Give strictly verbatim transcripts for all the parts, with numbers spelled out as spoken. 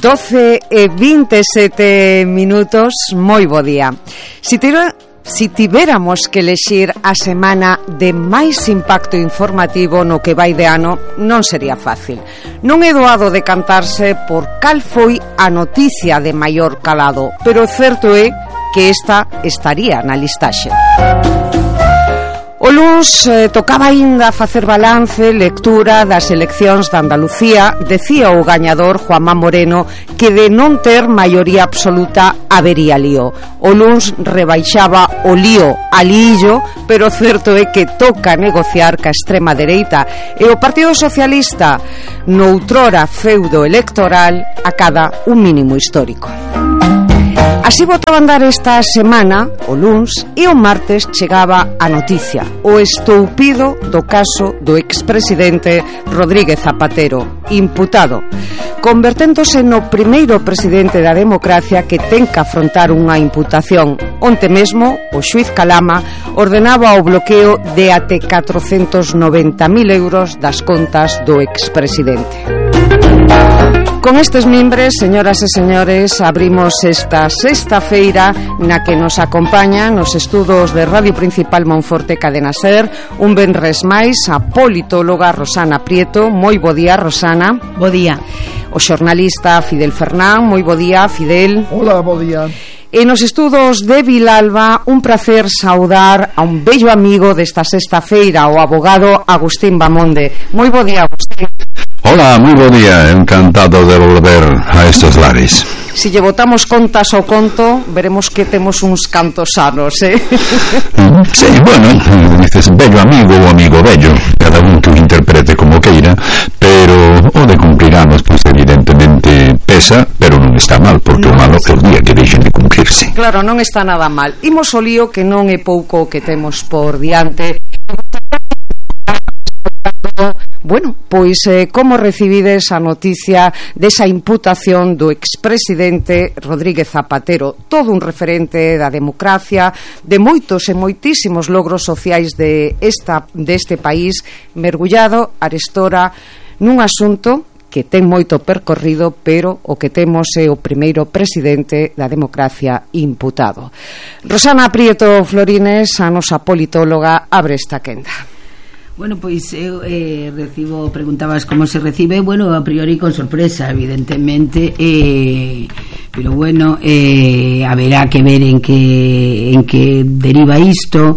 doce e vinte e sete minutos, moi bo día. Si tira, si tivéramos que elexir a semana de máis impacto informativo no que vai de ano, non sería fácil. Non é doado decantarse por cal foi a noticia de maior calado, pero o certo é que esta estaría na listaxe. O luns eh, tocaba aínda facer balance, lectura das eleccións de Andalucía. Decía o gañador, Juanma Moreno, que de non ter maioría absoluta habería lío. O luns rebaixaba o lío a lío, pero o certo é que toca negociar ca extrema dereita e o Partido Socialista noutrora feudo electoral acada un mínimo histórico. Así botaba a andar esta semana, o luns, e o martes chegaba a noticia, o estoupido do caso do expresidente Rodríguez Zapatero, imputado, converténdose no primeiro presidente da democracia que ten que afrontar unha imputación. Onte mesmo, o xuíz Calama ordenaba o bloqueo de até catrocentos noventa mil euros das contas do expresidente. Con estes mimbres, señoras e señores, abrimos esta sexta feira na que nos acompaña nos estudos de Radio Principal Monforte Cadena Ser un venres máis a politóloga Rosana Prieto. Moi bo día, Rosana. Bo día. O xornalista Fidel Fernán. Moi bo día, Fidel. Hola, bo día. E nos estudos de Vilalba, un placer saudar a un bello amigo desta sexta feira, o abogado Agustín Bamonde. Moi bo día, Agustín. Hola, moi bo día, encantado de volver a estos lares. Si lle botamos contas ao conto, veremos que temos uns cantos sanos, eh? Sí, bueno, dices bello amigo ou amigo bello, cada un que o interprete como queira, pero o de cumplir anos, pois evidentemente pesa, pero non está mal, porque no, o malo é o día que deixen de cumplirse. Claro, non está nada mal. Imos o lío, que non é pouco que temos por diante. Bueno, pois eh, como recibides a noticia desa imputación do expresidente Rodríguez Zapatero, todo un referente da democracia, de moitos e moitísimos logros sociais de esta deste país, mergullado arestora nun asunto que ten moito percorrido, pero o que temos é o primeiro presidente da democracia imputado. Rosana Prieto Florines, a nosa politóloga, abre esta quenda. Bueno, pois eu eh, recibo, preguntabas como se recibe, bueno, a priori con sorpresa, evidentemente, eh, pero bueno, eh, haberá que ver en que en que deriva isto,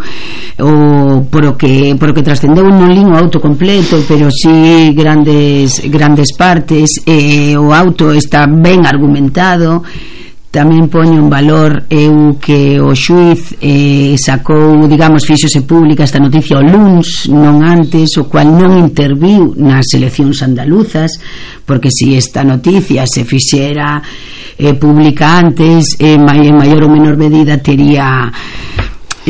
o por o que por o que trascendeu non lin o auto completo, pero si grandes grandes partes, eh, o auto está ben argumentado. Tamén poño en valor eu que o xuíz eh, sacou, digamos, fíxose pública esta noticia o luns, non antes, o cual non interviu nas eleccións andaluzas, porque se si esta noticia se fixera eh, pública antes, eh, en maior ou menor medida tería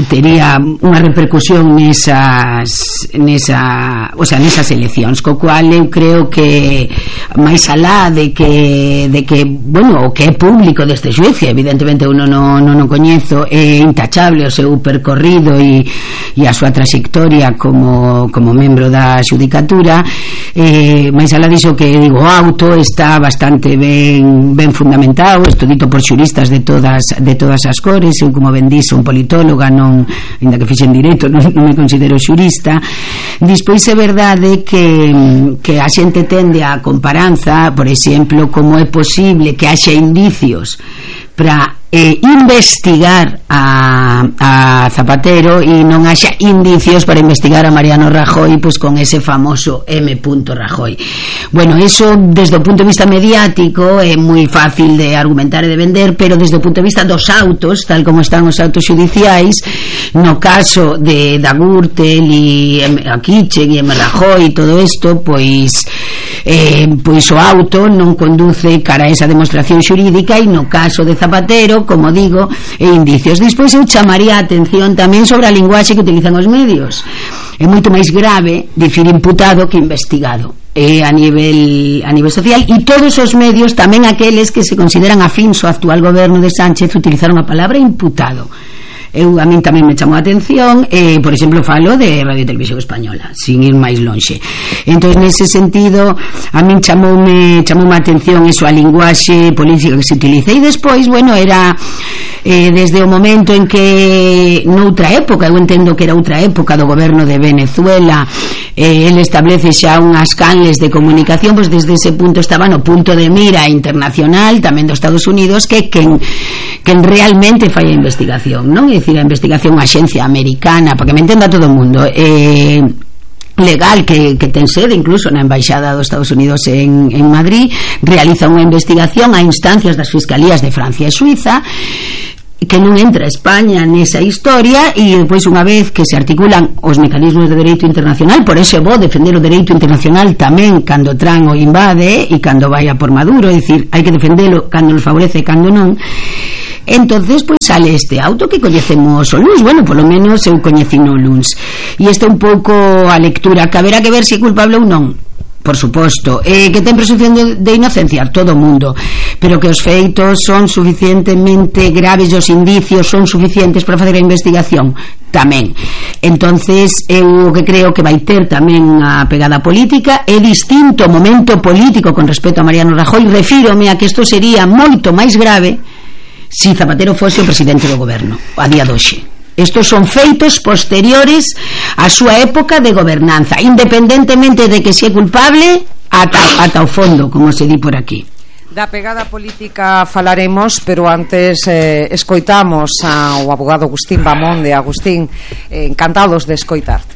tería unha repercusión nesas nesa, o sea, nesas eleccións, co cual eu creo que máis alá de que de que, bueno, o que é público deste xuicio, evidentemente uno non non o coñezo, é intachable o seu percorrido e, e a súa trayectoria como, como membro da xudicatura, eh, máis alá diso que digo, o auto está bastante ben ben fundamentado, isto dito por xuristas de todas de todas as cores. Eu, como ben dixo, un politóloga, non non, ainda que fixen direito, non, non me considero xurista. Despois é verdade que, que a xente tende a comparanza, por exemplo, como é posible que haxa indicios para eh, investigar a, a Zapatero e non haxa indicios para investigar a Mariano Rajoy, pois con ese famoso M. Rajoy. Bueno, eso desde o punto de vista mediático é moi fácil de argumentar e de vender, pero desde o punto de vista dos autos, tal como están os autos judiciais, no caso de da Gürtel e a Kitchen e M. Rajoy e todo isto, pois eh, pois o auto non conduce cara a esa demostración xurídica, e no caso de Zapatero, como digo, e indicios. Despois eu chamaría a atención tamén sobre a linguaxe que utilizan os medios. É moito máis grave dicir imputado que investigado, eh, a nivel a nivel social, e todos os medios, tamén aqueles que se consideran afíns ao actual goberno de Sánchez, utilizaron a palabra imputado. eu, a min tamén me chamou a atención, eh, por exemplo, falo de Radio e Televisión Española, sin ir máis lonxe. Entón, nese sentido, a min chamoume, chamoume a atención eso, a linguaxe política que se utiliza. E despois, bueno, era eh, desde o momento en que noutra época, eu entendo que era outra época do goberno de Venezuela, eh, ele establece xa unhas canles de comunicación, pois desde ese punto estaba no punto de mira internacional tamén dos Estados Unidos, que quen, quen realmente fai a investigación, non? É dicir, a investigación a xencia americana, para que me entenda todo o mundo, eh, legal, que, que ten sede incluso na Embaixada dos Estados Unidos en, en Madrid, realiza unha investigación a instancias das fiscalías de Francia e Suiza, que non entra España nesa historia, e depois, unha vez que se articulan os mecanismos de dereito internacional, por eso vou defender o dereito internacional tamén cando Trump o invade e cando vai a por Maduro, é dicir, hai que defendelo cando nos favorece e cando non. Entonces, pois sale este auto que coñecemos o luns, bueno, polo menos eu coñecino o luns, e esta un pouco a lectura, que haberá que ver se é culpable ou non, por suposto, eh, que ten presunción de, de inocencia todo o mundo, pero que os feitos son suficientemente graves, os indicios son suficientes para facer a investigación tamén. Entonces eu que creo que vai ter tamén a pegada política, é distinto o momento político con respecto a Mariano Rajoy. Refírome a que isto sería moito máis grave si Zapatero fose o presidente do goberno a día de hoxe. Estos son feitos posteriores á súa época de gobernanza, independentemente de que se é culpable, ata, ata o fondo, como se di por aquí. Da pegada política falaremos, pero antes eh, escoitamos ao abogado Agustín Bamonde. Agustín, eh, encantados de escoitarte.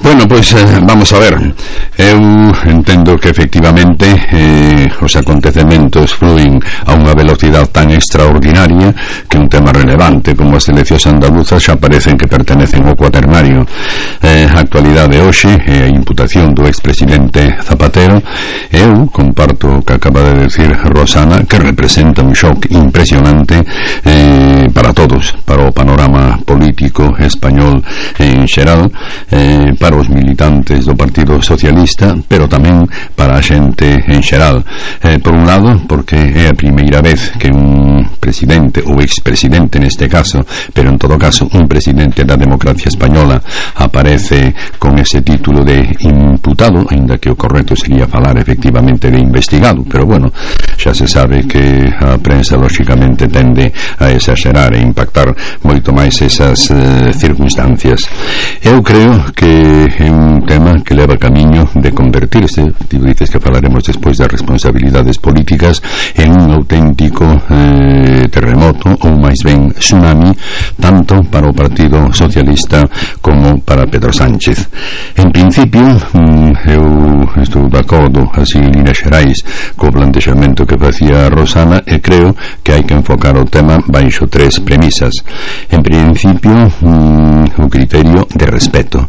Bueno, pois pues, eh, vamos a ver. Eu entendo que efectivamente eh, os acontecementos fluen a unha velocidade tan extraordinaria que un tema relevante como as eleccións andaluzas xa parecen que pertenecen ao cuaternario. Eh, a actualidade hoxe é a imputación do expresidente Zapatero. Eu comparto o que acaba de decir Rosana, que representa un shock impresionante eh, para todos, para o panorama político español en xeral, eh, para os militantes do Partido Socialista, pero tamén para a xente en xeral. Eh, por un lado, porque é a primeira vez que un presidente ou expresidente neste caso, pero en todo caso un presidente da democracia española aparece con ese título de imputado, aínda que o correcto sería falar efectivamente de investigado, pero bueno, xa se sabe que a prensa lóxicamente tende a exagerar e impactar moito máis esas eh, circunstancias. Eu creo que é un tema que leva camiño de convertirse, ti dices que falaremos despois das responsabilidades políticas, en un auténtico eh, terremoto ou máis ben tsunami, tanto para o Partido Socialista como para Pedro Sánchez. En principio, eu estou de acordo así en líneas xerais co plantexamento que facía Rosana, e creo que hai que enfocar o tema baixo tres premisas. En principio, o criterio de respeto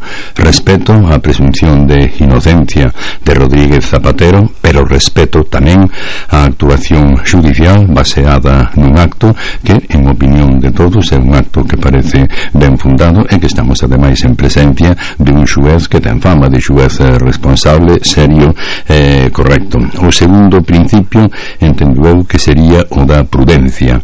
respeto á presunción de inocencia de Rodríguez Zapatero, pero respeto tamén á actuación judicial baseada nun acto que, en opinión de todos, é un acto que parece ben fundado e que estamos ademais en presencia de un xuez que ten fama de xuez responsable, serio e eh, correcto. O segundo principio entendo eu que sería o da prudencia.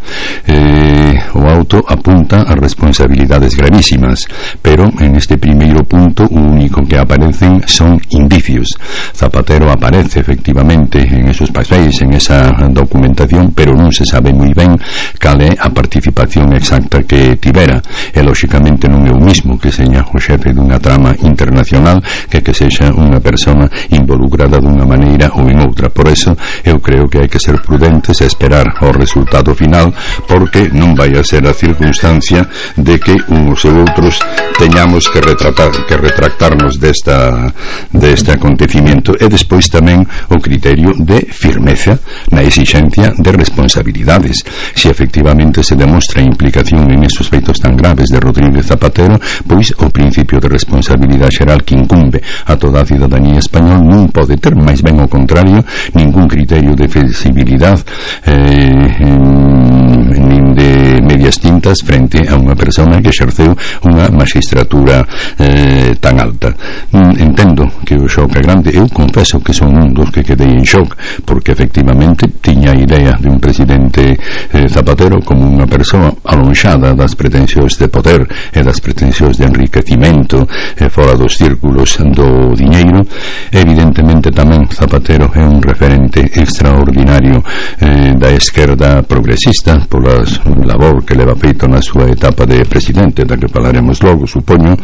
Eh, o auto apunta a responsabilidades gravísimas, pero en este primeiro punto o único que aparecen son indicios. Zapatero aparece efectivamente en esos papéis, en esa documentación, pero non se sabe moi ben cal é a participación exacta que tivera, e lóxicamente non é o mismo que seña o xefe dunha trama internacional que que sexa unha persona involucrada dunha maneira ou en outra. Por eso eu creo que hai que ser prudentes e esperar ao resultado final, porque non vai a ser a circunstancia de que uns e outros teñamos que retratar, que retractarnos desta deste acontecimiento, e despois tamén o criterio de firmeza na exixencia de responsabilidades. Se efectivamente se demostra implicación en esos feitos tan graves de Rodríguez Zapatero, pois o principio de responsabilidade xeral que incumbe a toda a cidadanía española non pode ter, máis ben ao contrario, ningún criterio de flexibilidade eh, nin de medias tintas frente a unha persona que exerceu unha magistratura eh, tan alta. Mm, entendo que o xoc é grande. Eu confeso que son un dos que quedei en xoc, porque efectivamente tiña a idea de un presidente eh, Zapatero como unha persoa alonxada das pretensións de poder e das pretensións de enriquecimento eh, fora dos círculos do diñeiro. Evidentemente tamén Zapatero é un referente extraordinario eh, da esquerda progresista pola labor que leva feito na súa etapa de presidente, da que falaremos logo, supoño,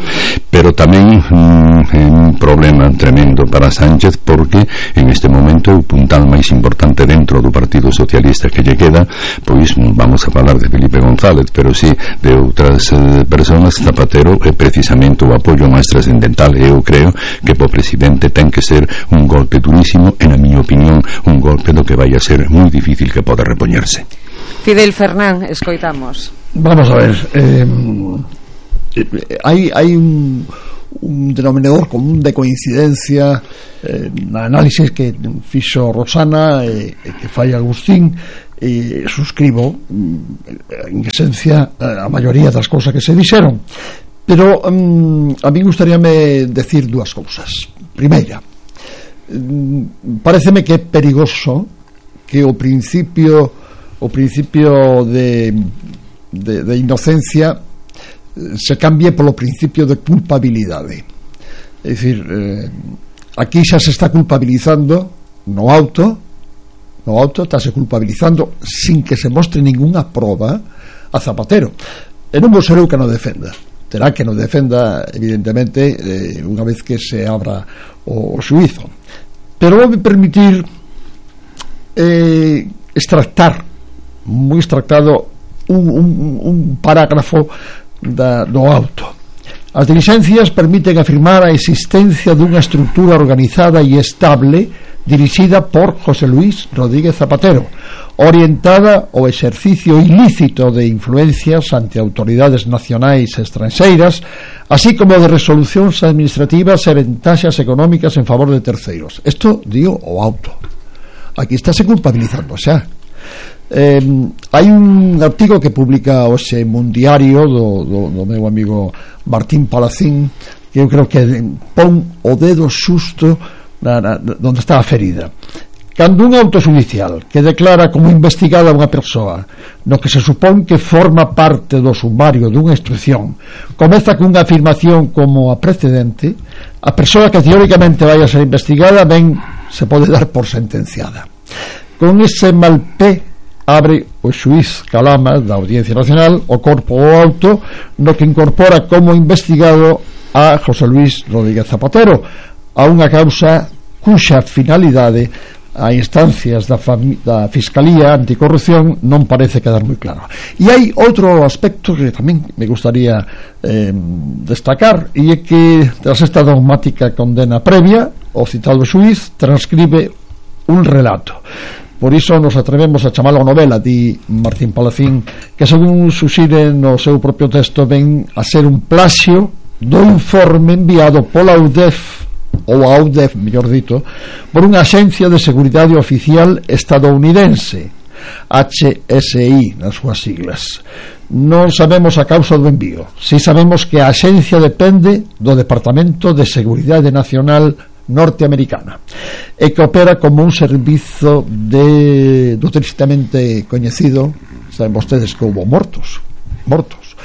pero tamén mm, é un problema tremendo para Sánchez, porque en este momento é o puntal máis importante dentro do Partido Socialista que lle queda. Pois vamos a falar de Felipe González, pero sí de outras eh, personas. Zapatero é precisamente o apoio máis trascendental, e eu creo que po presidente ten que ser un golpe durísimo, e na miña opinión un golpe do que vai a ser moi difícil que poda repoñerse. Fidel Fernán, escoitamos. Vamos a ver, eh, hai, hai un, un denominador común de coincidencia eh, na análisis que fixo Rosana e eh, que fai Agustín, e suscribo en esencia a maioría das cousas que se dixeron, pero um, a mí gustaríame decir dúas cousas. Primeira, um, pareceme que é perigoso que o principio o principio de, de, de inocencia se cambie polo principio de culpabilidade. É dicir, eh, aquí xa se está culpabilizando no auto no auto estáse culpabilizando sin que se mostre ningunha proba a Zapatero, e non vou ser eu que non defenda, terá que non defenda evidentemente eh, unha vez que se abra o, o xuízo, pero vou me permitir eh, extractar moi extractado un, un, un parágrafo da, do auto. As diligencias permiten afirmar a existencia dunha estructura organizada e estable dirixida por José Luis Rodríguez Zapatero, orientada ao exercicio ilícito de influencias ante autoridades nacionais e estranxeiras, así como de resolucións administrativas e ventaxas económicas en favor de terceiros. Isto dio o auto. Aquí estáse culpabilizando xa. Eh, hai un artigo que publica hoxe un diario do, do, do meu amigo Martín Palacín, que eu creo que pon o dedo xusto na, na, donde está a ferida. Cando un auto judicial que declara como investigada unha persoa no que se supón que forma parte do sumario dunha instrucción comeza cunha afirmación como a precedente, a persoa que teóricamente vai a ser investigada ben se pode dar por sentenciada. Con ese mal pé abre o xuiz Calama da Audiencia Nacional o corpo o auto no que incorpora como investigado a José Luis Rodríguez Zapatero a unha causa cuxa finalidade a instancias da, da Fiscalía Anticorrupción non parece quedar moi claro. E hai outro aspecto que tamén me gustaría eh, destacar, e é que tras esta dogmática condena previa o citado xuiz transcribe un relato. Por iso nos atrevemos a chamalo novela, di Martín Palacín, que según suxire no seu propio texto ven a ser un plaxio do informe enviado pola U D E F, ou a U D E F, mellor dito, por unha axencia de seguridade oficial estadounidense, H S I nas súas siglas. Non sabemos a causa do envío, si sabemos que a axencia depende do Departamento de Seguridade Nacional norteamericana e que opera como un servizo de do tristemente coñecido, saben vostedes que houve mortos mortos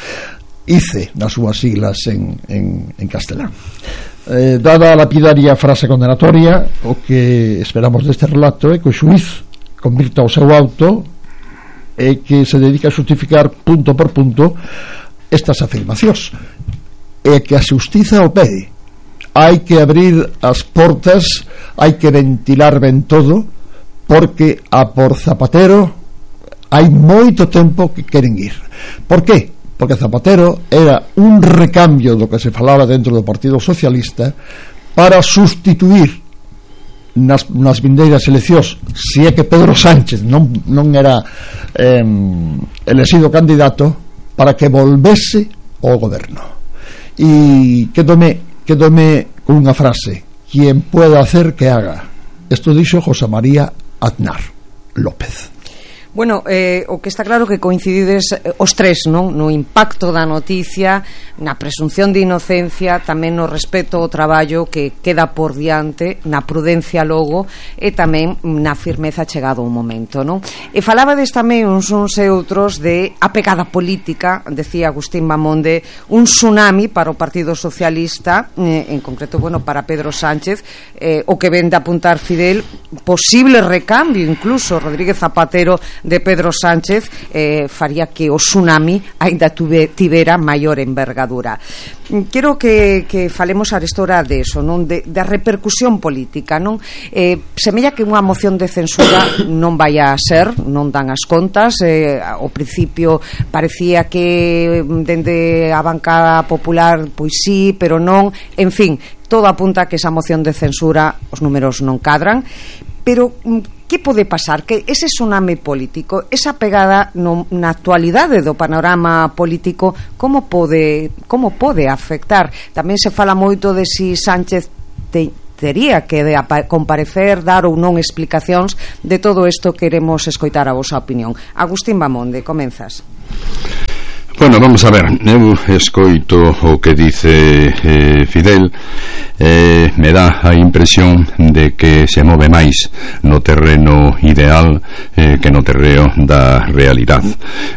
I C E nas súas siglas en, en, en castelán. Eh, dada a lapidaria frase condenatoria, o que esperamos deste relato é que o xuiz convirta o seu auto e que se dedica a justificar punto por punto estas afirmacións, e que a xustiza o pede. Hai que abrir as portas, hai que ventilar ben todo, porque a por Zapatero hai moito tempo que queren ir. Por que? Porque Zapatero era un recambio do que se falaba dentro do Partido Socialista para sustituir nas, nas vindeiras eleccións, se é que Pedro Sánchez non, non era eh, elexido candidato, para que volvese ao goberno. E quedome quedome con unha frase: quien pueda hacer que haga. Isto dixo José María Aznar López. Bueno, eh, o que está claro que coincidides eh, os tres, non? No impacto da noticia, na presunción de inocencia, tamén no respeto ao traballo que queda por diante, na prudencia logo e tamén na firmeza chegado o momento, non? E falabades tamén uns uns e outros de a pegada política, decía Agustín Mamonde, un tsunami para o Partido Socialista, eh, en concreto, bueno, para Pedro Sánchez, eh, o que ven de apuntar Fidel, posible recambio incluso Rodríguez Zapatero de Pedro Sánchez eh, faría que o tsunami ainda tuve, tivera maior envergadura. Quero que, que falemos arestora de eso, non? De, de repercusión política, non? Eh, semella que unha moción de censura non vai a ser, non dan as contas, eh, ao principio parecía que dende a bancada popular pois sí, pero non, en fin, todo apunta a que esa moción de censura os números non cadran, pero que pode pasar? Que ese tsunami político, esa pegada no, na actualidade do panorama político, como pode como pode afectar? Tamén se fala moito de si Sánchez te, tería que de comparecer, dar ou non explicacións de todo isto. Queremos escoitar a vosa opinión. Agustín Mamonde, comenzas. Bueno, vamos a ver, eu escoito o que dice eh, Fidel, eh, me dá a impresión de que se move máis no terreno ideal eh, que no terreno da realidade.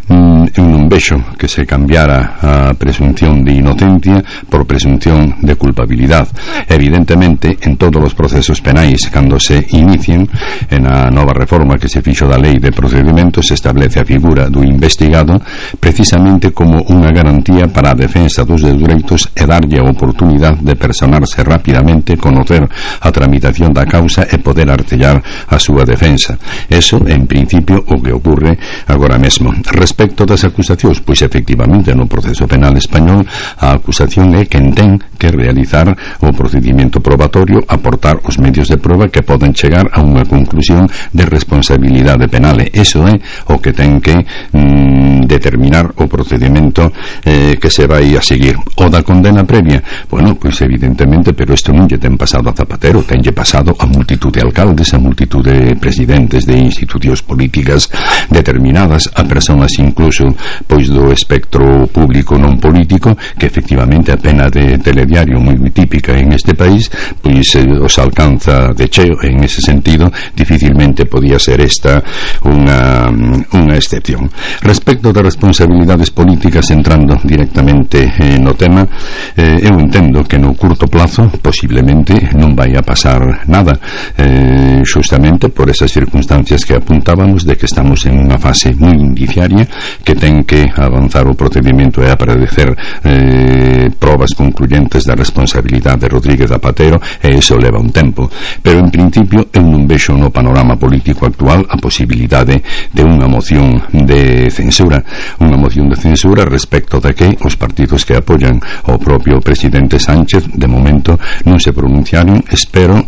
Mm, eu non vexo que se cambiara a presunción de inocencia por presunción de culpabilidade. Evidentemente, en todos os procesos penais, cando se inicien, en a nova reforma que se fixo da lei de procedimentos, se establece a figura do investigado precisamente como unha garantía para a defensa dos dereitos e darlle a oportunidade de personarse rapidamente, conocer a tramitación da causa e poder artellar a súa defensa. Eso, en principio, o que ocorre agora mesmo. Respecto das acusacións, pois efectivamente no proceso penal español a acusación é quen ten que realizar o procedimento probatorio, aportar os medios de prova que poden chegar a unha conclusión de responsabilidade penal. Eso é o que ten que mm, determinar o procedimento eh, que se vai a seguir. O da condena previa, bueno, pois evidentemente, pero isto non lle ten pasado a Zapatero, tenlle pasado a multitud de alcaldes, a multitud de presidentes de institucións políticas determinadas, a persoas incluso pois do espectro público non político, que efectivamente a pena de telediario moi típica en este país, pois eh, os alcanza de cheo. En ese sentido dificilmente podía ser esta unha, unha excepción. Respecto de responsabilidades políticas, entrando directamente eh, no tema, eh, eu entendo que no curto plazo posiblemente non vai a pasar nada, eh, justamente por esas circunstancias que apuntábamos de que estamos en unha fase moi indiciaria, que ten que avanzar o procedimento e aparecer eh, probas concluyentes da responsabilidade de Rodríguez Zapatero, e iso leva un tempo, pero en principio eu non vexo no panorama político actual a posibilidade de unha moción de censura, unha moción de censura respecto de que os partidos que apoyan ao propio presidente Sánchez de momento non se pronunciaron. Espero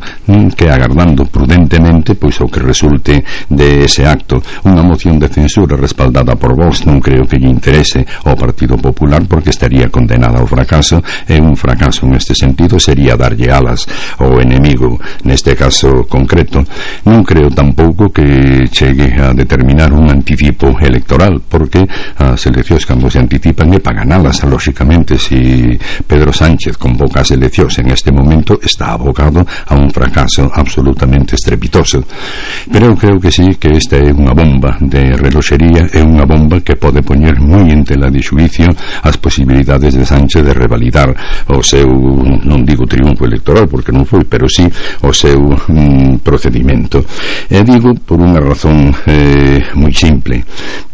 que, agardando prudentemente pois o que resulte de ese acto, unha moción de censura respaldada por Vox non creo que lle interese ao Partido Popular, porque estaría condenada ao fracaso, e un fracaso neste sentido sería darlle alas ao enemigo neste caso concreto. Non creo tampouco que chegue a determinar un anticipo electoral, porque as eleccións cando se anticipan é para ganalas. Lógicamente, si Pedro Sánchez convoca as eleccións en este momento, está abocado a un fracaso absolutamente estrepitoso. Pero eu creo que sí, que esta é unha bomba de reloxería, é unha bomba que pode poñer moi en tela de xuicio as posibilidades de Sánchez de revalidar o seu, non digo triunfo electoral porque non foi, pero sí o seu mm, procedimento. E digo por unha razón eh, moi simple.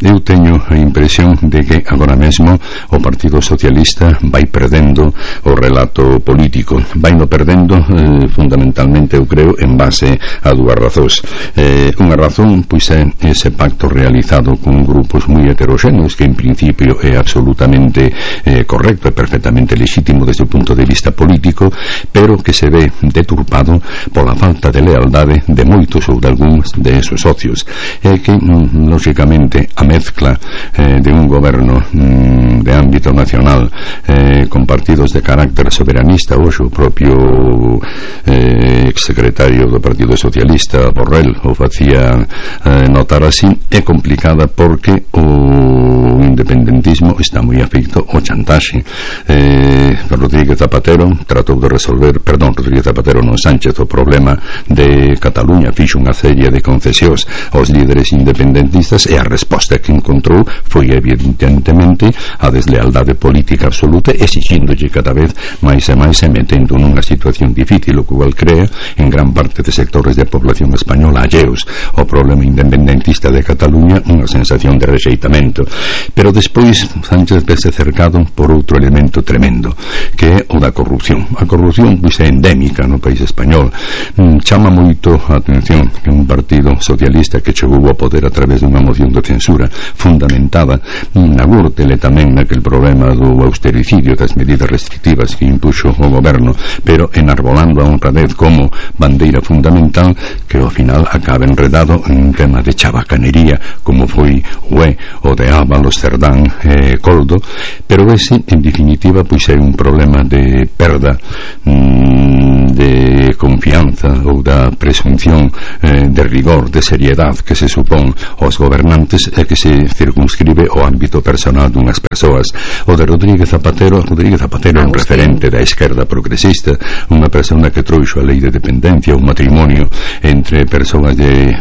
Eu teño a impresión de que agora mesmo o Partido Socialista vai perdendo o relato político, vai no perdendo eh, fundamentalmente, eu creo, en base a dúas razóns. Eh, unha razón pois é ese pacto realizado con grupos moi heteroxéneos, que en principio é absolutamente eh, correcto e perfectamente lexítimo desde o punto de vista político, pero que se ve deturpado pola falta de lealdade de moitos ou de algúns problemas de esos socios, é que mm, lógicamente a mezcla eh, de un goberno mm, de ámbito nacional eh, con partidos de carácter soberanista, hoxe o propio eh, exsecretario do Partido Socialista Borrell o facía eh, notar así, é complicada porque o independentismo está moi afeito ao chantaxe. eh, Rodríguez Zapatero tratou de resolver, perdón, Rodríguez Zapatero non, Sánchez, o problema de Cataluña, fixo unha serie de concesións aos líderes independentistas e a resposta que encontrou foi evidentemente a deslealdade política absoluta, exixíndolle cada vez máis e máis e metendo nunha situación difícil, o cual crea en gran parte de sectores de población española alleos ao problema independentista de Cataluña unha sensación de rexeitamento. Pero despois Sánchez vese cercado por outro elemento tremendo, que é o da corrupción. A corrupción pois é endémica no país español. Mm, chama moito a atención que un partido socialista que chegou ao poder a través dunha moción de censura fundamentada na gúrtele tamén naquel problema do austericidio, das medidas restrictivas que impuxo o goberno, pero enarbolando a honradez como bandeira fundamental, que ao final acaba enredado en un tema de chabacanería como foi o é o de Ábalos, Cerdán, eh, Coldo. Pero ese en definitiva pois é un problema de perda mm, de confianza ou da presunción eh, de rigor, de seriedade que se supón aos gobernantes e que se circunscribe ao ámbito personal dunhas persoas. O de Rodríguez Zapatero Rodríguez Zapatero é un referente da esquerda progresista, unha persona que trouxo a lei de dependencia, un matrimonio entre persoas de,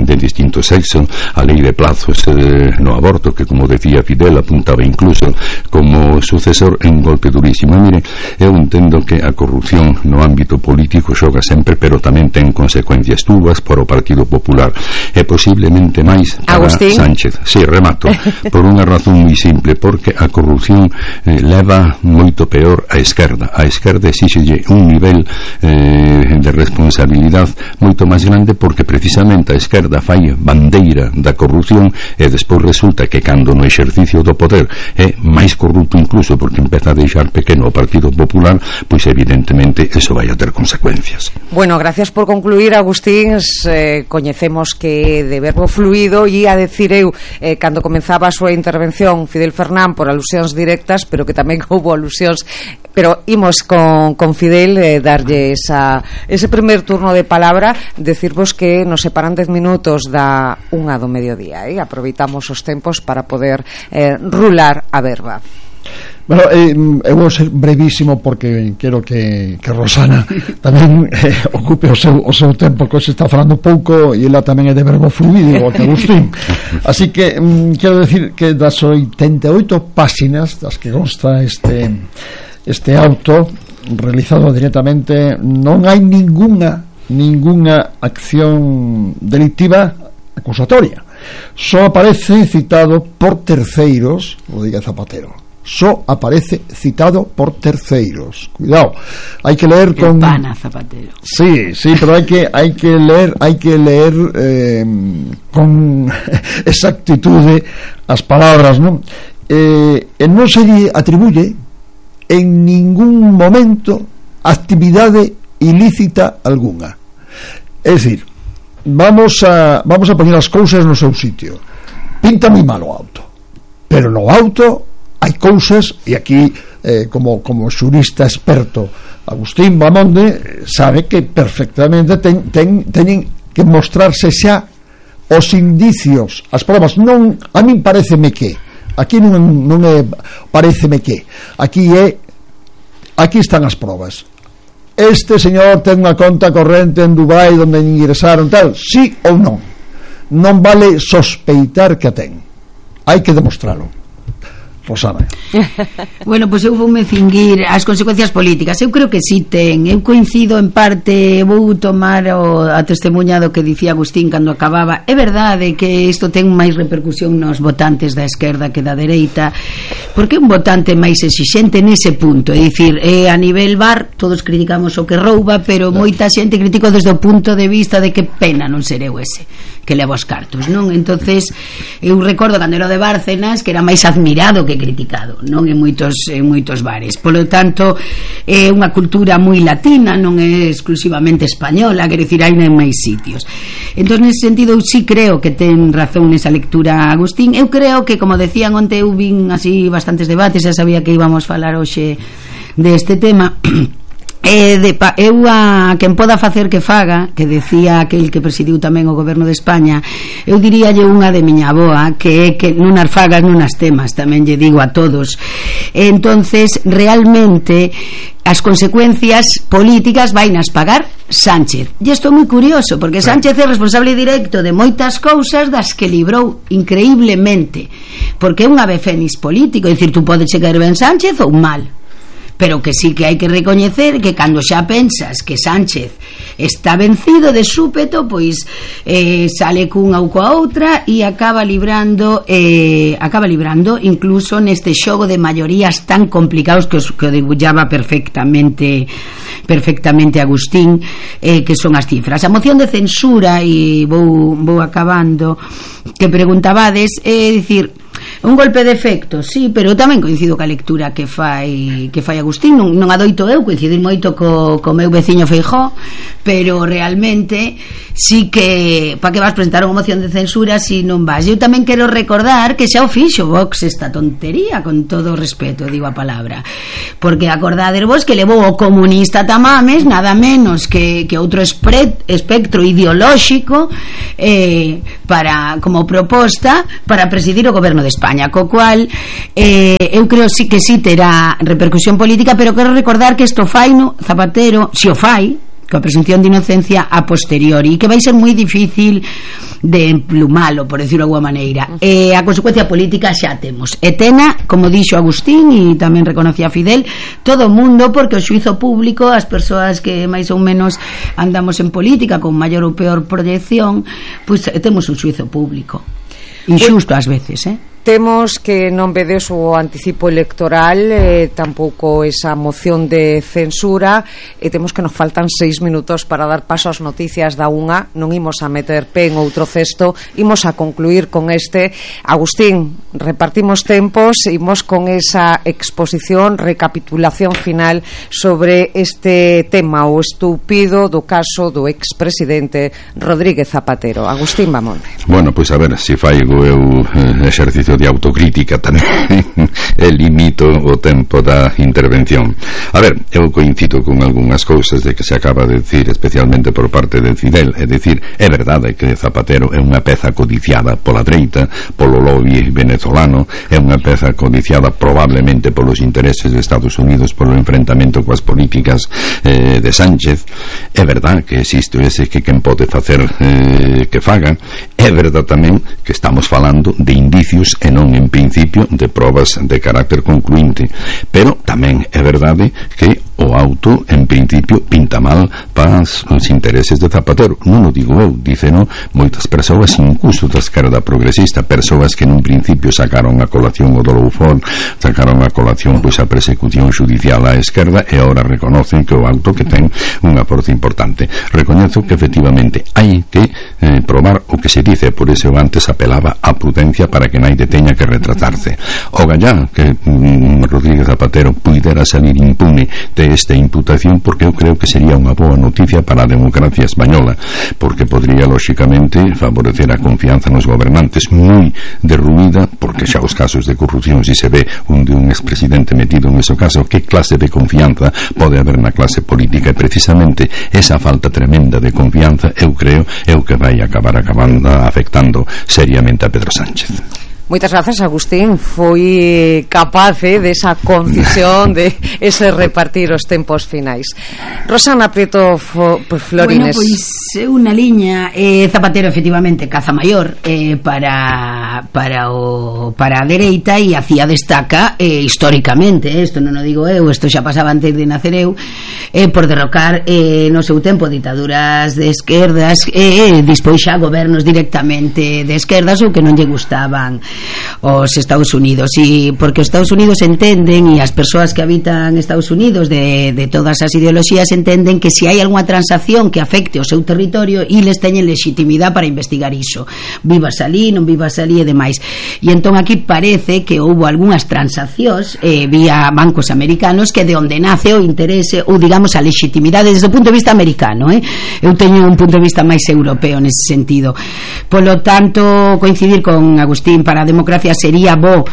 de distinto sexo, a lei de plazos eh, no aborto, que como decía Fidel apuntaba incluso como sucesor en un golpe durísimo. Mire, eu entendo que a corrupción no ámbito político xoga sempre, pero tamén ten consecuencias túas para o Partido Popular e posiblemente máis para Agustín Sánchez. Si, sí, remato, por unha razón moi simple, porque a corrupción eh, leva moito peor a esquerda. A esquerda exíxelle un nivel eh, de responsabilidade moito máis grande, porque precisamente a esquerda fai bandeira da corrupción e despois resulta que cando no exercicio do poder é máis corrupto incluso porque empeza a deixar pequeno o Partido Popular, pois evidentemente eso vai a ter consecuencias. Bueno, gracias por concluir, Agustín. Eh, coñecemos que de verbo fluido e a decir eu eh, cando comenzaba a súa intervención Fidel Fernán por alusións directas, pero que tamén houbo alusións, pero imos con, con Fidel eh, darlle esa, ese primer turno de palabra, decirvos que nos separan dez minutos da unha do mediodía, eh? Aproveitamos os tempos para poder eh, rular a verba. Bueno, eh, eu vou ser brevísimo porque quero que, que Rosana tamén eh, ocupe o seu, o seu tempo, que se está falando pouco e ela tamén é de verbo fluido, igual que Agustín. Así que mm, quero decir que das oitenta e oito páxinas das que consta este este auto realizado directamente, non hai ninguna ninguna acción delictiva acusatoria. Só aparece citado por terceiros, o diga Zapatero. Só aparece citado por terceiros. Cuidado, hai que leer con pana, Zapatero. Sí, sí, pero hai que hai que leer, hai que leer eh, con exactitude as palabras, non? Eh, e non se lle atribuye en ningún momento actividade ilícita algunha. É dicir, vamos a vamos a poñer as cousas no seu sitio. Pinta moi mal o auto, pero no auto hai cousas, e aquí eh, como, como xurista experto Agustín Bamonde sabe que perfectamente ten, ten, teñen que mostrarse xa os indicios, as probas. Non, a min pareceme que aquí non, non é pareceme que aquí é aquí están as probas. Este señor ten unha conta corrente en Dubai onde ingresaron tal, sí ou non. Non vale sospeitar que a ten, hai que demostralo. Rosana. Bueno, pois pues eu voume cinguir as consecuencias políticas. Eu creo que sí ten. Eu coincido en parte, vou tomar o, a testemunha do que dicía Agustín cando acababa. É verdade que isto ten máis repercusión nos votantes da esquerda que da dereita, porque un votante máis exixente nese punto, é dicir, eh, a nivel bar todos criticamos o que rouba, pero moita xente critica desde o punto de vista de que pena non ser eu ese que levo os cartos, non? Entonces eu recordo cando era de Bárcenas que era máis admirado que bastante criticado, non en moitos en moitos bares. Polo tanto, é unha cultura moi latina, non é exclusivamente española, quer dicir, hai en máis sitios. Entón, nese sentido, eu sí creo que ten razón nesa lectura Agustín. Eu creo que, como decían onte, eu vin así bastantes debates, xa sabía que íbamos falar hoxe deste tema. Eh, de, eu a quen poda facer que faga, que decía aquel que presidiu tamén o goberno de España, eu diríalle unha de miña avoa, que é que non as fagas non as temas, tamén lle digo a todos. Entonces, realmente as consecuencias políticas vainas pagar Sánchez. E isto é moi curioso, porque Sánchez é responsable directo de moitas cousas das que librou increíblemente, porque é un ave fénix político, é dicir, tú podes chegar ben Sánchez ou mal, pero que sí que hai que recoñecer que cando xa pensas que Sánchez está vencido de súpeto, pois eh, sale cunha ou coa outra e acaba librando eh, acaba librando incluso neste xogo de maiorías tan complicados que, os, que o debullaba perfectamente perfectamente Agustín, eh, que son as cifras. A moción de censura, e vou, vou acabando, que preguntabades, é dicir, un golpe de efecto, sí, pero tamén coincido ca lectura que fai que fai Agustín. Non, non adoito eu coincidir moito co, co meu veciño Feijóo, pero realmente sí que pa que vas presentar unha moción de censura si non vas. Eu tamén quero recordar que xa o fixo Vox esta tontería, con todo o respeto, digo a palabra, porque acordades vos que levou o comunista Tamames nada menos que, que outro espre, espectro ideolóxico eh, para, como proposta para presidir o goberno de España, co cual eh, eu creo sí que sí terá repercusión política, pero quero recordar que isto fai no Zapatero, si o fai coa presunción de inocencia a posteriori, e que vai ser moi difícil de emplumalo, por decirlo de alguma maneira. Eh, a consecuencia política xa temos, e tena, como dixo Agustín e tamén reconocía Fidel, todo o mundo, porque o xuizo público, as persoas que máis ou menos andamos en política con maior ou peor proyección, pois pues, temos un xuizo público inxusto ás veces, eh? Temos que non vedes o anticipo electoral, eh, tampouco esa moción de censura, e temos que nos faltan seis minutos para dar paso ás noticias da unha. Non imos a meter pé en outro cesto, imos a concluir con este. Agustín, repartimos tempos, imos con esa exposición, recapitulación final sobre este tema, o estúpido do caso do expresidente Rodríguez Zapatero. Agustín, vamos. Bueno, pois pues a ver, se faigo eu eh, exercicio de autocrítica tamén e limito o tempo da intervención. A ver, eu coincido con algunhas cousas de que se acaba de decir, especialmente por parte de Fidel. É dicir, é verdade que Zapatero é unha peza codiciada pola dereita, polo lobby venezolano, é unha peza codiciada probablemente polos intereses de Estados Unidos, polo enfrentamento coas políticas eh, de Sánchez. É verdade que existe ese que quen pode facer eh, que faga. É verdade tamén que estamos falando de indicios e non en principio de probas de carácter concluinte, pero tamén é verdade que o auto en principio pinta mal para os intereses de Zapatero. Non o digo eu, diceno moitas persoas, incluso da esquerda progresista, persoas que nun principio sacaron a colación o do Loufón, sacaron a colación pois a persecución judicial á esquerda, e agora reconocen que o auto que ten unha forza importante. Recoñezo que efectivamente hai que eh, probar o que se dice, por eso eu antes apelaba a prudencia para que naide teña que retratarse. O gallá que mm, Rodríguez Zapatero puidera salir impune de esta imputación, porque eu creo que sería unha boa noticia para a democracia española, porque podría lóxicamente favorecer a confianza nos gobernantes, moi derruída, porque xa os casos de corrupción, si se ve un de un expresidente metido en ese caso, que clase de confianza pode haber na clase política? E precisamente esa falta tremenda de confianza, eu creo, é o que vai acabar acabando afectando seriamente a Pedro Sánchez. Moitas grazas, Agustín. Foi capaz eh, desa concisión de ese repartir os tempos finais. Rosana Prieto Florines. Bueno, pois é unha liña eh, Zapatero efectivamente caza maior eh, para para o para a dereita, e hacía destaca eh, históricamente, isto eh, non o digo eu, isto xa pasaba antes de nacer eu, eh, por derrocar eh, no seu tempo ditaduras de esquerdas e eh, dispois xa gobernos directamente de esquerdas ou que non lle gustaban os Estados Unidos, e porque os Estados Unidos entenden, e as persoas que habitan Estados Unidos de, de todas as ideoloxías entenden que se hai algunha transacción que afecte o seu territorio, eles teñen legitimidade para investigar iso, vivas ali, non vivas ali e demais. E entón aquí parece que houve algunhas transaccións eh, vía bancos americanos que de onde nace o interese ou digamos a legitimidade desde o punto de vista americano, eh? Eu teño un punto de vista máis europeo nese sentido. Polo tanto, coincidir con Agustín, para a democracia sería bo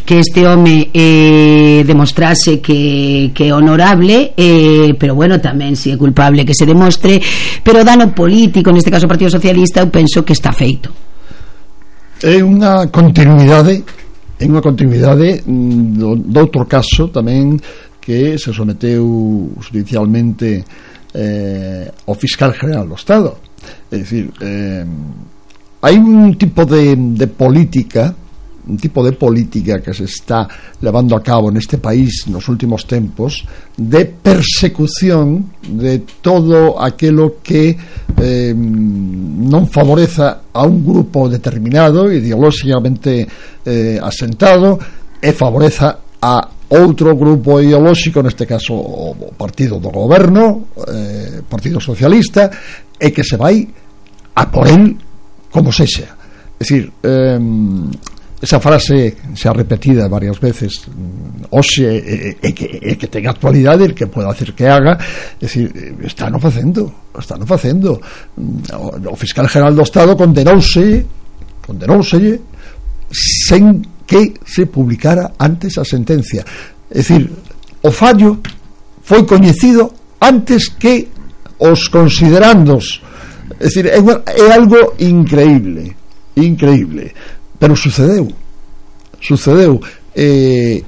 que este home eh, demostrase que, que é honorable, eh, pero bueno, tamén se é culpable que se demostre, pero dano político, neste caso o Partido Socialista, eu penso que está feito. É unha continuidade é unha continuidade do, do outro caso tamén que se someteu judicialmente eh, ao fiscal general do Estado. É dicir, eh, hai un tipo de, de política un tipo de política que se está levando a cabo neste país nos últimos tempos de persecución de todo aquilo que eh, non favoreza a un grupo determinado ideolóxicamente eh, asentado e favoreza a outro grupo ideolóxico, neste caso o partido do goberno, eh, Partido Socialista, e que se vai a por el como sexa. É dicir, eh, esa frase se ha repetida varias veces hoxe e, e, que, e que ten actualidade, el que pueda hacer que haga, é dicir, están o facendo están o facendo o, o fiscal general do Estado condenouse condenouse sen que se publicara antes a sentencia, é dicir, o fallo foi coñecido antes que os considerandos, é dicir, é, é algo increíble increíble, pero sucedeu sucedeu e,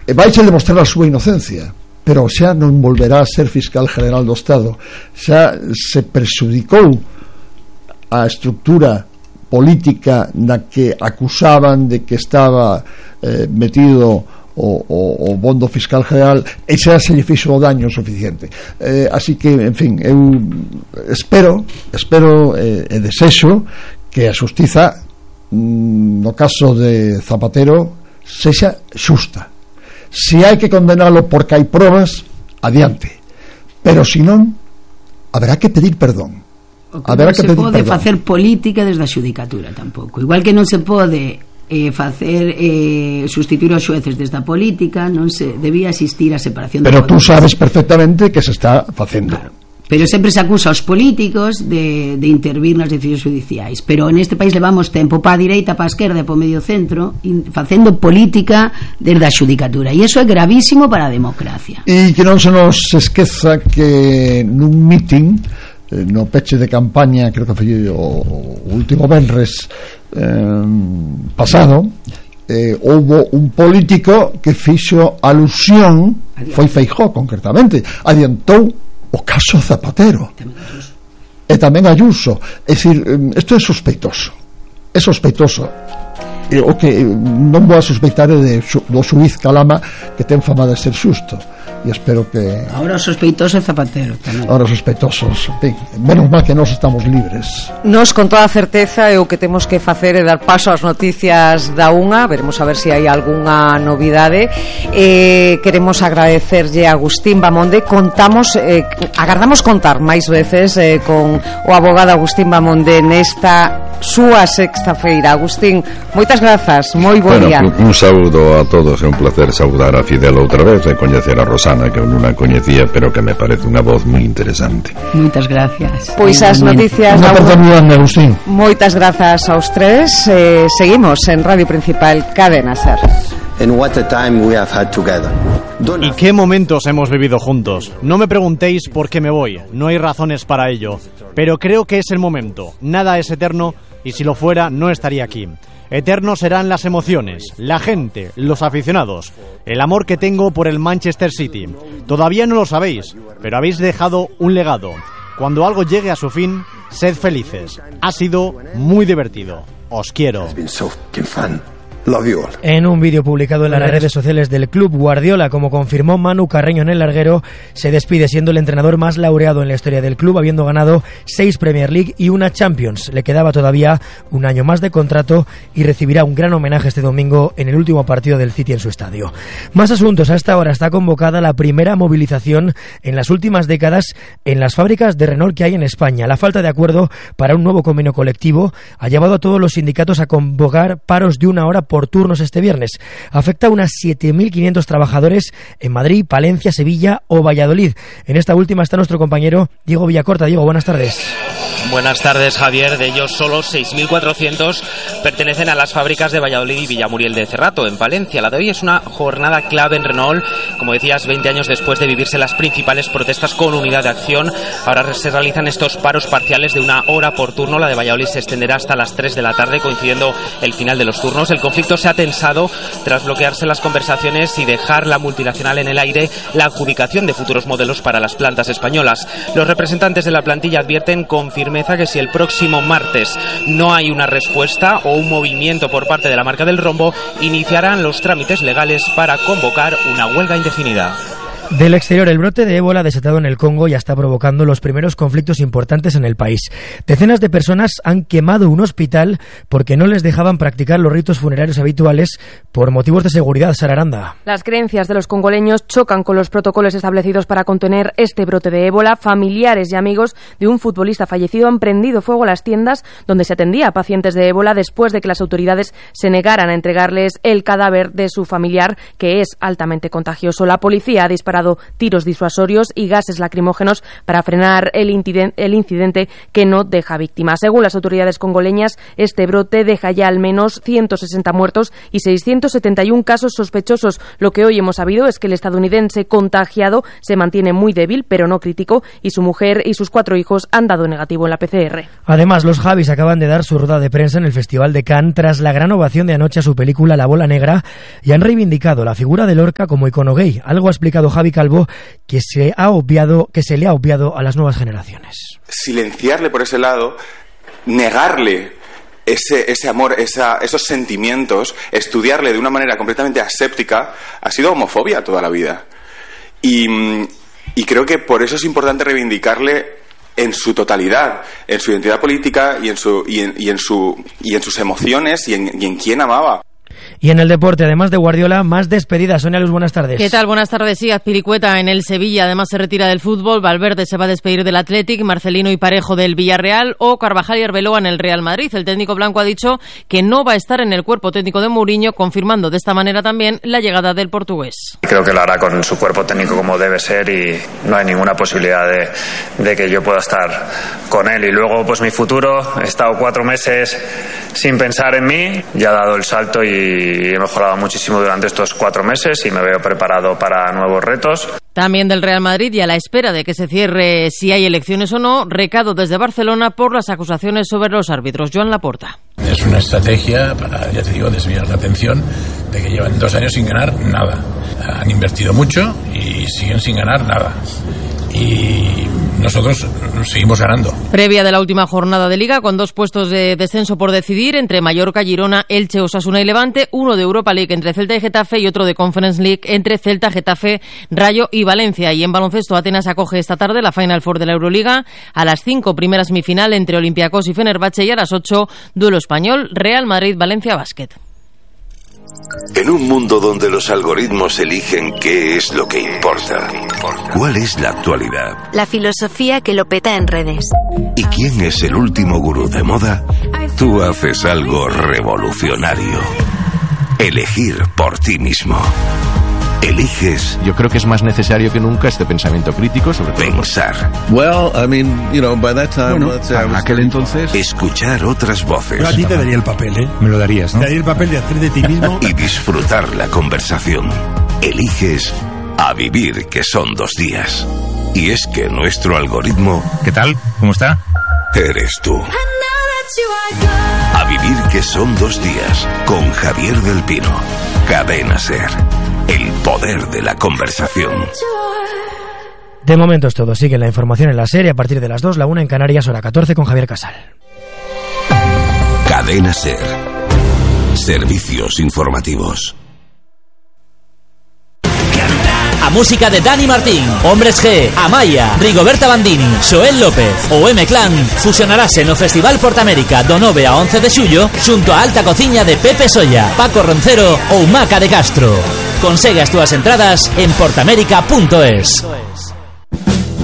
e vais a demostrar a súa inocencia, pero xa non volverá a ser fiscal general do Estado, xa se perxudicou a estructura política na que acusaban de que estaba eh, metido o, o, o bondo fiscal general, e xa se lle fixo o daño suficiente. eh, así que, en fin, eu espero espero e eh, desexo que a xustiza no caso de Zapatero sexa xusta. Se hai que condenalo porque hai probas, adiante, pero se non, haberá que pedir perdón. O que non se pode facer política desde a xudicatura tampouco, igual que non se pode eh, facer eh, sustituir os xueces desde a política, non se debía existir a separación. Pero tú sabes perfectamente que se está facendo. Claro. Pero sempre se acusa aos políticos de, de intervir nas decisións judiciais, pero neste país levamos tempo pa direita, pa esquerda e pa medio centro facendo política desde a xudicatura, e iso é gravísimo para a democracia. E que non se nos esqueza que nun meeting no peche de campaña, creo que foi o último venres eh, pasado, eh, houbo un político que fixo alusión, foi Feijóo concretamente, adiantou o caso Zapatero e tamén Ayuso. É dicir, isto é sospeitoso, é sospeitoso. E o que non vou a sospeitar é de, do xuiz Calama, que ten fama de ser xusto, e espero que ahora o sospeitoso é Zapatero tamén. Ahora sospeitosos, ben, menos mal que nós estamos libres. Nos con toda certeza é o que temos que facer é dar paso ás noticias da unha. Veremos a ver se hai algunha novidade. eh, Queremos agradecerlle a Agustín Bamonde. Contamos, eh, agardamos contar máis veces eh, con o abogado Agustín Bamonde nesta súa sexta feira. Agustín, moitas grazas, moi bo bueno, día. Un, un saúdo a todos, é un placer saudar a Fidel outra vez e coñecer a Rosana, que eu non a coñecía, pero que me parece unha voz moi interesante. Moitas gracias. Pois as noticias Unha oportunidade, Agustín. Moitas grazas aos tres. eh, Seguimos en Radio Principal, Cadena Ser. And what a time we have had together. ¿Y qué momentos hemos vivido juntos? No me preguntéis por qué me voy, no hay razones para ello, pero creo que es el momento. Nada es eterno y si lo fuera no estaría aquí. Eternos serán las emociones, la gente, los aficionados, el amor que tengo por el Manchester City. Todavía no lo sabéis, pero habéis dejado un legado. Cuando algo llegue a su fin, sed felices. Ha sido muy divertido. Os quiero. Love you all. En un vídeo publicado en las redes sociales del club, Guardiola, como confirmó Manu Carreño en el larguero, se despide siendo el entrenador más laureado en la historia del club, habiendo ganado seis Premier League y una Champions. Le quedaba todavía un año más de contrato y recibirá un gran homenaje este domingo en el último partido del City en su estadio. Más asuntos. A esta hora está convocada la primera movilización en las últimas décadas en las fábricas de Renault que hay en España. La falta de acuerdo para un nuevo convenio colectivo ha llevado a todos los sindicatos a convocar paros de una hora por turnos este viernes. Afecta a unas siete mil quinientos trabajadores en Madrid, Palencia, Sevilla o Valladolid. En esta última está nuestro compañero Diego Villacorta. Diego, buenas tardes. Buenas tardes, Javier. De ellos solo seis mil cuatrocientos pertenecen a las fábricas de Valladolid y Villamuriel de Cerrato, en Palencia. La de hoy es una jornada clave en Renault. Como decías, veinte años después de vivirse las principales protestas con unidad de acción, ahora se realizan estos paros parciales de una hora por turno. La de Valladolid se extenderá hasta las tres de la tarde, coincidiendo el final de los turnos. El conflicto se ha tensado tras bloquearse las conversaciones y dejar la multinacional en el aire la adjudicación de futuros modelos para las plantas españolas. Los representantes de la plantilla advierten con firmeza que si el próximo martes no hay una respuesta o un movimiento por parte de la marca del rombo, iniciarán los trámites legales para convocar una huelga indefinida. Del exterior, el brote de ébola desatado en el Congo ya está provocando los primeros conflictos importantes en el país. Decenas de personas han quemado un hospital porque no les dejaban practicar los ritos funerarios habituales por motivos de seguridad. Sara Aranda. Las creencias de los congoleños chocan con los protocolos establecidos para contener este brote de ébola. Familiares y amigos de un futbolista fallecido han prendido fuego a las tiendas donde se atendía a pacientes de ébola después de que las autoridades se negaran a entregarles el cadáver de su familiar, que es altamente contagioso. La policía ha disparado tiros disuasorios y gases lacrimógenos para frenar el, inciden- el incidente que no deja víctimas. Según las autoridades congoleñas, este brote deja ya al menos ciento sesenta muertos y seiscientos setenta y uno casos sospechosos. Lo que hoy hemos sabido es que el estadounidense contagiado se mantiene muy débil, pero no crítico, y su mujer y sus cuatro hijos han dado negativo en la P C R. Además, los Javis acaban de dar su rueda de prensa en el Festival de Cannes tras la gran ovación de anoche a su película La Bola Negra y han reivindicado la figura de Lorca como icono gay. Algo ha explicado Javi Calvo que se ha obviado, que se le ha obviado a las nuevas generaciones. Silenciarle por ese lado, negarle ese, ese amor, esa, esos sentimientos, estudiarle de una manera completamente aséptica, ha sido homofobia toda la vida. Y, y creo que por eso es importante reivindicarle en su totalidad, en su identidad política y en, su, y en, y en, su, y en sus emociones y en, y en quién amaba. Y en el deporte, además de Guardiola, más despedidas. Sonia Luz, buenas tardes. ¿Qué tal? Buenas tardes. Sí, Azpilicueta en el Sevilla, además se retira del fútbol. Valverde se va a despedir del Athletic, Marcelino y Parejo del Villarreal o Carvajal y Arbeloa en el Real Madrid. El técnico blanco ha dicho que no va a estar en el cuerpo técnico de Mourinho, confirmando de esta manera también la llegada del portugués. Creo que lo hará con su cuerpo técnico como debe ser y no hay ninguna posibilidad de, de que yo pueda estar con él. Y luego, pues mi futuro, he estado cuatro meses sin pensar en mí, ya he dado el salto y he mejorado muchísimo durante estos cuatro meses y me veo preparado para nuevos retos. También del Real Madrid y a la espera de que se cierre si hay elecciones o no, recado desde Barcelona por las acusaciones sobre los árbitros. Joan Laporta. Es una estrategia para, ya te digo, desviar la atención de que llevan dos años sin ganar nada. Han invertido mucho y siguen sin ganar nada. Y nosotros seguimos ganando. Previa de la última jornada de Liga, con dos puestos de descenso por decidir entre Mallorca, Girona, Elche, Osasuna y Levante, uno de Europa League entre Celta y Getafe y otro de Conference League entre Celta, Getafe, Rayo y Valencia. Y en baloncesto, Atenas acoge esta tarde la Final Four de la Euroliga. A las cinco, primera semifinal entre Olympiacos y Fenerbahce, y a las ocho, duelo español, Real Madrid-Valencia Basket. En un mundo donde los algoritmos eligen qué es lo que importa, ¿cuál es la actualidad? La filosofía que lo peta en redes. ¿Y quién es el último gurú de moda? Tú haces algo revolucionario. Elegir por ti mismo. Eliges. Yo creo que es más necesario que nunca este pensamiento crítico sobre todo. Pensar. Well, I mean, you know, by that time, bueno, en aquel entonces. Escuchar otras voces. Yo a ti te daría el papel, ¿eh? Me lo darías, ¿no? Te daría el papel de hacer de ti mismo. Y disfrutar la conversación. Eliges a vivir, que son dos días. Y es que nuestro algoritmo. ¿Qué tal? ¿Cómo está? Eres tú. A vivir, que son dos días. Con Javier del Pino. Cadena SER. El poder de la conversación. De momento es todo. Sigue la información en la serie a partir de las dos, la una en Canarias, hora catorce, con Javier Casal. Cadena SER. Servicios informativos. A música de Dani Martín, Hombres G, Amaya, Rigoberta Bandini, Xoel López ou M-Clan fusionarase no Festival Portamérica do nove a once de xullo xunto a Alta Cociña de Pepe Solla, Paco Roncero ou Maca de Castro. Consegue as túas entradas en portamérica punto es.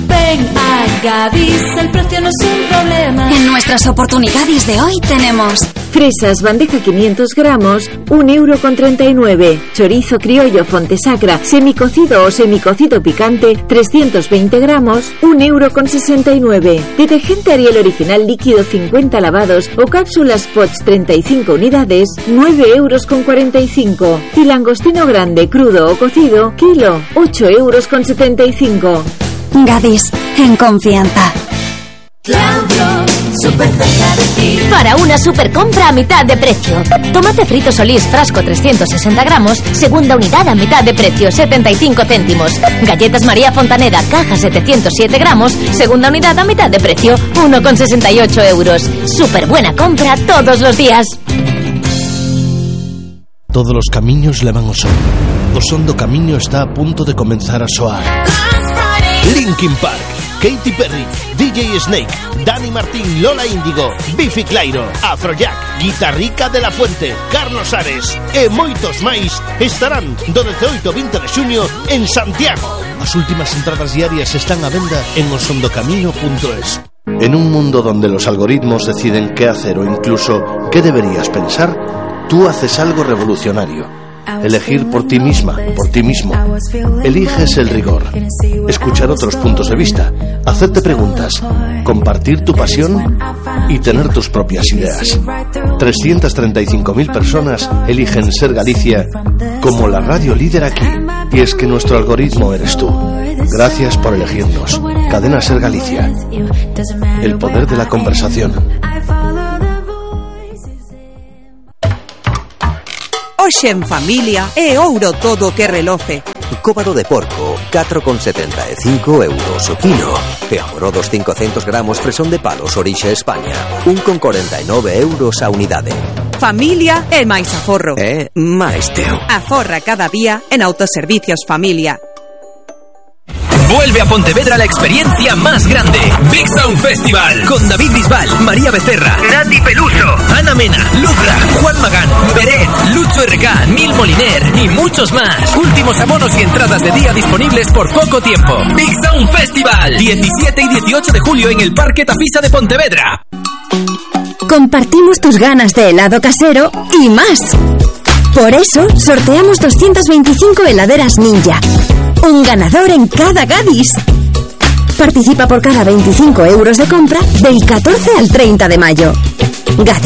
Ven a Gadis, el precio no es un problema. En nuestras oportunidades de hoy tenemos fresas bandeja quinientos gramos, un euro con treinta y nueve. Chorizo criollo Fontesacra, semicocido o semicocido picante, trescientos veinte gramos, un euro con sesenta y nueve. Detergente Ariel original líquido cincuenta lavados o cápsulas Pots treinta y cinco unidades, nueve euros con cuarenta y cinco. Y langostino grande, crudo o cocido, kilo, ocho euros con setenta y cinco. Gadis, en confianza. Claudio, súper cerca de ti. Para una super compra a mitad de precio. Tomate frito Solís, frasco trescientos sesenta gramos, segunda unidad a mitad de precio, setenta y cinco céntimos. Galletas María Fontaneda, caja setecientos siete gramos, segunda unidad a mitad de precio, uno con sesenta y ocho euros. Súper buena compra todos los días. Todos los camiños levan ao sol. O son do camiño está a punto de comenzar a soar. Linkin Park, Katy Perry, D J Snake, Dani Martín, Lola Índigo, Bifi Clyro, Afrojack, Guitarrica de la Fuente, Carlos Ares e moitos máis estarán do dezaoito ao vinte de xuño en Santiago. As últimas entradas diarias están a venda en osondocamino punto es. En un mundo donde los algoritmos deciden qué hacer o incluso qué deberías pensar, tú haces algo revolucionario. Elegir por ti misma, por ti mismo. Eliges el rigor, escuchar otros puntos de vista, hacerte preguntas, compartir tu pasión y tener tus propias ideas. trescientas treinta y cinco mil personas eligen Ser Galicia como la radio líder aquí. Y es que nuestro algoritmo eres tú. Gracias por elegirnos. Cadena Ser Galicia. El poder de la conversación. Hoxe en familia é ouro todo que reloce. Cóbado de porco, catro con setenta e cinco euros o kilo. E amorodos cincocentos gramos fresón de palos orixe España, un con corenta e nove euros a unidade. Familia é máis aforro. É máis teu. Aforra cada día en Autoservicios Familia. Vuelve a Pontevedra la experiencia más grande. Big Sound Festival. Con David Bisbal, María Becerra, Nati Peluso, Ana Mena, Lucra, Juan Magán, Beret, Lucho R K, Nil Moliner y muchos más. Últimos abonos y entradas de día disponibles por poco tiempo. Big Sound Festival. diecisiete y dieciocho de julio en el Parque Tafisa de Pontevedra. Compartimos tus ganas de helado casero y más. Por eso sorteamos doscientas veinticinco heladeras Ninja. Un ganador en cada Gadis. Participa por cada veinticinco euros de compra del catorce al treinta de mayo. Gadis.